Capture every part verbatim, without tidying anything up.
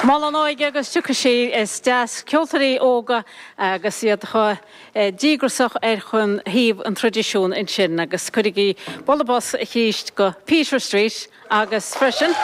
Mol an óige agus tiocfaidh sí. Is deas ceoltóirí óga agus iad chomh díograiseach ar chun thaobh an traidisiúin ansin agus cuirigí bualadh bos arís go Peter Street agus freisin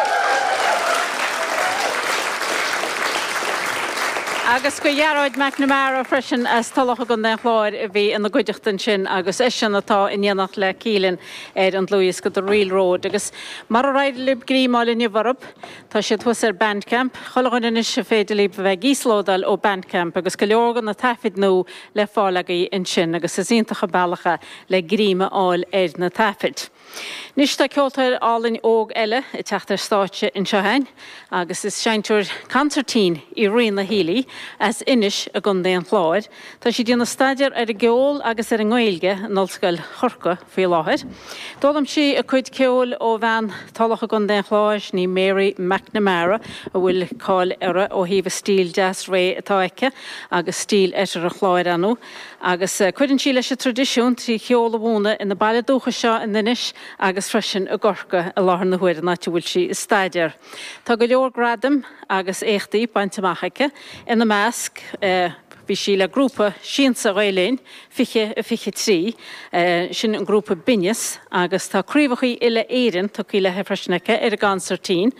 agus go Ghearóid McNamara freisin as Tulach i gContae an Chláir a bhí ina gcuideachta ansin agus eisean atá in éineacht le Keelan ar an dlúthdhiosca The Reel Road agus mar a d'éirigh libh greim a fháil inniu orthu, tá siad thuas ar Bandcamp. Chuile dhuine anois is féidir libh a bheith ag íoslódáil ó Bandcamp agus go leor de na taifid nua le fáil agaibh ansin agus is iontach an bealach é le greim a fháil ar na taifid. Anois tá ceoltóir álainn óg eile ag teacht ar stáitse anseo againn agus is seinnteoir consairtín í Ríona Healy as Inis i gContae an Chláir. Tá sí ag déanamh staidéar ar an gceol agus ar an nGaeilge in Ollscoil Chorcaí faoi láthair. D'fhoghlaim sí a cuid ceoil ó bhean Tulach i gContae an Chláir, sin í Mary McNamara, a bhfuil cáil uirthi ó thaobh a stíl deas réidh atá aici agus stíl Oirthear an Chláir ann. Agus cuireann sí leis an traidisiún trí cheol a mhúineadh ina baile dúchais seo in Inis agus freisin i gCorcaigh i láthair na huaire, an áit a bhfuil sí ag staidéar. Tá go leor gradaim agus éachtaí bainte amach aici, ina measc, bhí sí le grúpa Siansa Ghael Linn fiche a fiche trí, sin an grúpa Binneas, agus tá craobhacha uile-Éireann tugtha léi freisin aici ar an gconsairtín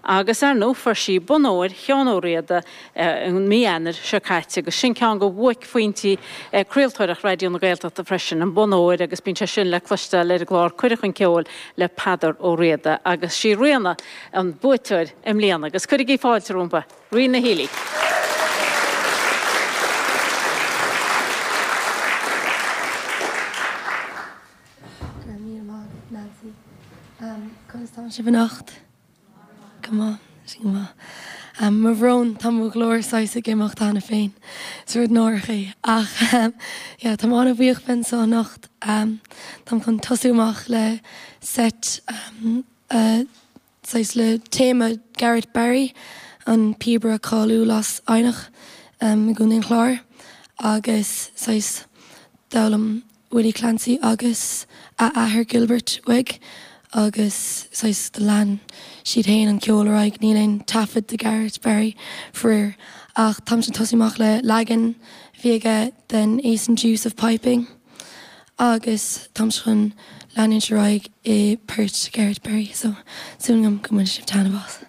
agus, ar ndóigh, fuair sí Bonn Óir Sheáin Ó Riada i mí Eanáir seo caite agus sin ceann de bhuaicphointí craoltóireacht Raidió na Gaeltachta freisin, an Bonn Óir agus bíonn sé sin le cloisteáil ar an gclár Cuireadh chun Ceoil le Peadar Ó Riada agus sí Ríona an buaiteoir i mbliana agus cuirigí fáilte rompu, Ríona Healy. Go raibh míle maith agat, Nancy. Conas tá sibh anocht? Go maith, sin go maith. Mo bhrón, tá mo ghlór saghas ag imeacht cheana féin. Is rud náireach é. Ach yeah, táim an-bhuíoch bheith anseo anocht. Táim chun tosú amach le seit saghas le téama Garrett Barry, an píobaire cáiliúil as Eidhneach i gContae an Chláir, agus saghas d'fhoghlaim Willie Clancy agus a athair Gilbert uaidh agus saghas do lean siad féin an ceol ar aghaidh. Níl aon taifead de Garrett Barry faraor ach táimse ag tosú amach le leagan a bhí aige den Ace and Deuce of Piping agus táimse chun leanúint ar aghaidh i bport Garrett Barry so súil agam go mbainfidh sibh taitneamh as.